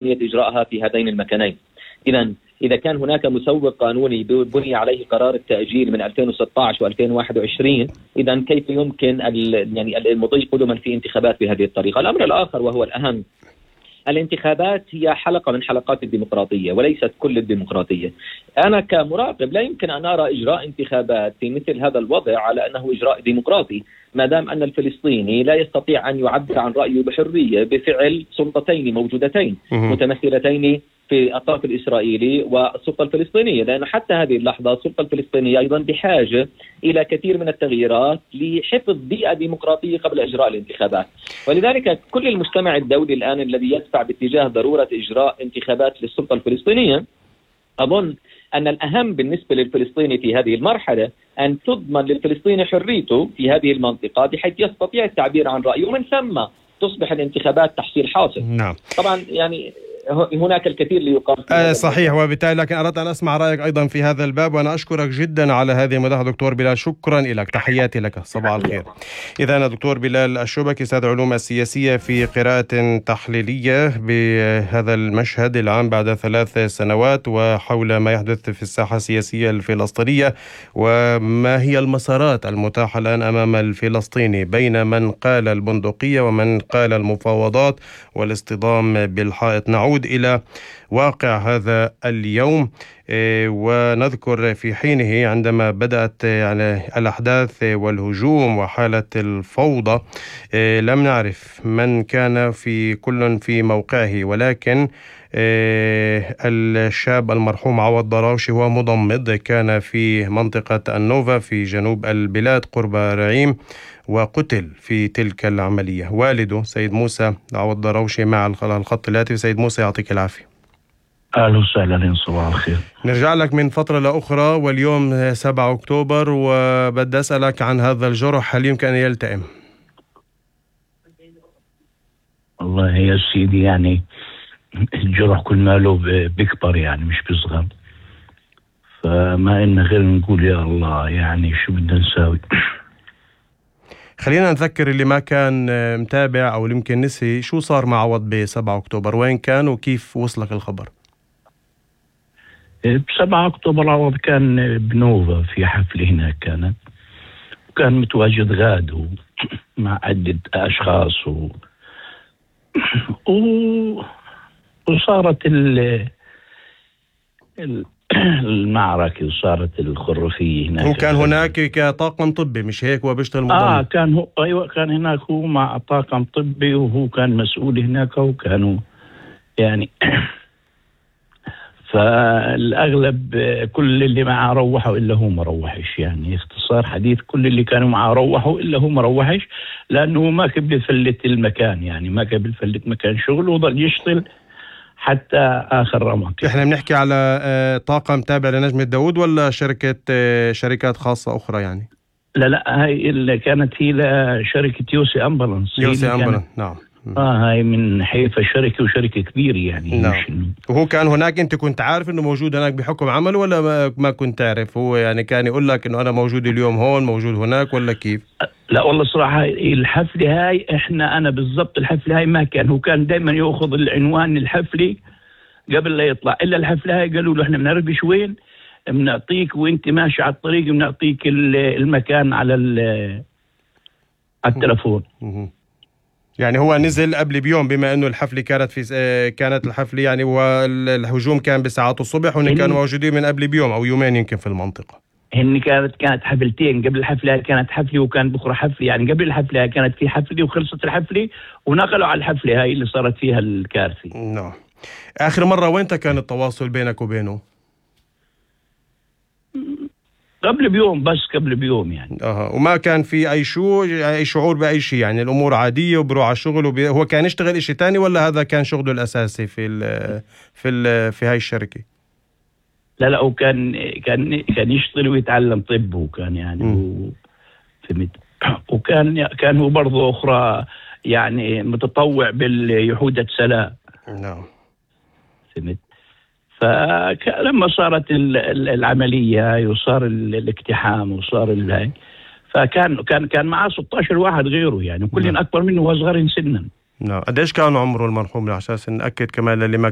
إجراءها في هذين المكانين. إذا كان هناك مسوغ قانوني بني عليه قرار التأجيل من 2016 و2021، إذا كيف يمكن المضي قدما في انتخابات بهذه الطريقة؟ الأمر الآخر وهو الأهم، الانتخابات هي حلقة من حلقات الديمقراطية وليست كل الديمقراطية. أنا كمراقب لا يمكن أن أرى إجراء انتخابات في مثل هذا الوضع على أنه إجراء ديمقراطي، ما دام أن الفلسطيني لا يستطيع أن يعبر عن رأيه بحرية بفعل سلطتين موجودتين متمثلتين في الطرف الإسرائيلي والسلطة الفلسطينية، لأن حتى هذه اللحظة السلطة الفلسطينية أيضا بحاجة إلى كثير من التغييرات لحفظ بيئة ديمقراطية قبل إجراء الانتخابات. ولذلك كل المجتمع الدولي الآن الذي يدفع باتجاه ضرورة إجراء انتخابات للسلطة الفلسطينية، أظن أن الأهم بالنسبة للفلسطيني في هذه المرحلة أن تضمن للفلسطيني حريته في هذه المنطقة بحيث يستطيع التعبير عن رأيه، ومن ثم تصبح الانتخابات تحصيل حاصل. نعم. طبعا هناك الكثير ليقال صحيح، وبالتالي لكن أردت أن أسمع رأيك أيضا في هذا الباب، وأنا أشكرك جدا على هذه المداخلة دكتور بلال. شكرا لك، تحياتي لك، صباح الخير. إذا دكتور بلال الشبكي أستاذ علوم السياسية في قراءة تحليلية بهذا المشهد العام بعد 3 سنوات وحول ما يحدث في الساحة السياسية الفلسطينية، وما هي المسارات المتاحة الآن أمام الفلسطيني بين من قال البندقية ومن قال المفاوضات والاصطدام بالحائط. نعود إلى واقع هذا اليوم ونذكر في حينه عندما بدأت الأحداث والهجوم وحالة الفوضى لم نعرف من كان في كل في موقعه، ولكن الشاب المرحوم عوض ضراوشي هو مضمد، كان في منطقة النوفا في جنوب البلاد قرب رعيم وقتل في تلك العملية. والده سيد موسى عوض ضراوشي مع الخط الهاتفي. سيد موسى يعطيك العافية. أهلا وسهلا، صباح الخير. نرجع لك من فترة لأخرى، واليوم 7 أكتوبر، وبدي أسألك عن هذا الجرح، هل يمكن أن يلتئم؟ والله يا سيدي الجرح كل ما له بيكبر مش بيصغر، فما إن غير نقول يا الله شو بدنا نساوي. خلينا نذكر اللي ما كان متابع أو يمكن نسي، شو صار مع عوض ب7 أكتوبر؟ وين كان وكيف وصلك الخبر؟ ب7 أكتوبر عوض كان بنوفا في حفلة هناك كانت، وكان متواجد غاد مع عدة أشخاص وصارت المعركة وصارت الخرافية هناك. هو كان هناك كطاقم طبي مش هيك؟ وبيشتغل مضمن. كان هو كان هناك هو مع طاقم طبي، وهو كان مسؤول هناك، وكانوا فالأغلب كل اللي معه روحوا إلا هو ما روحش. اختصار حديث، كل اللي كانوا معه روحوا إلا هو ما روحش، لأنه ما كان بيفلت المكان، ما كان بيفلت مكان شغله، وظل يشتغل حتى آخر رمق. احنا بنحكي على طاقم تابع لنجمة داود ولا شركات خاصة أخرى لا هاي اللي كانت هي لشركة يوسي أمبولانس. نعم. هاي من حيفا شركة وشركة كبيرة نعم. وهو كان هناك، انت كنت عارف انه موجود هناك بحكم عمل ولا ما كنت تعرف؟ هو كان يقول لك انه انا موجود اليوم هون موجود هناك ولا كيف؟ لا والله صراحة الحفلة هاي أنا بالضبط الحفلة هاي ما كان، هو كان دايما يأخذ العنوان الحفلة قبل لا يطلع، إلا الحفلة هاي قالوا له احنا بنعرفش وين، بنعطيك وانت ماشي على الطريق بنعطيك المكان على التلفون. هو نزل قبل بيوم، بما انه الحفلة كانت الحفلة والهجوم كان بساعات الصبح، وإن كانوا موجودين من قبل بيوم او يومين يمكن في المنطقة. كانت حفلتين قبل الحفلة، كانت حفلة وكان بكرة حفلة، قبل الحفلة كانت في حفلة وخلصت الحفلة ونقلوا على الحفلة هاي اللي صارت فيها الكارثة. نعم. آخر مرة وين كان التواصل بينك وبينه؟ قبل بيوم، بس قبل بيوم وما كان في أي شعور بأي شيء؟ الأمور عادية وبروح على الشغل هو كان يشتغل إشي تاني ولا هذا كان شغله الأساسي في هاي الشركة؟ لا هو كان يشتغل ويتعلم طب، وكان فهمت، وكان هو برضه أخرى متطوع باليهودة سلام. نعم. فهمت. فلما صارت العملية وصار الاقتحام وصار فكان معه 16 واحد غيره، كلهم أكبر منه وصغر سنا. نعم. قديش كان عمره المرحوم على أساس نأكد كمان للي ما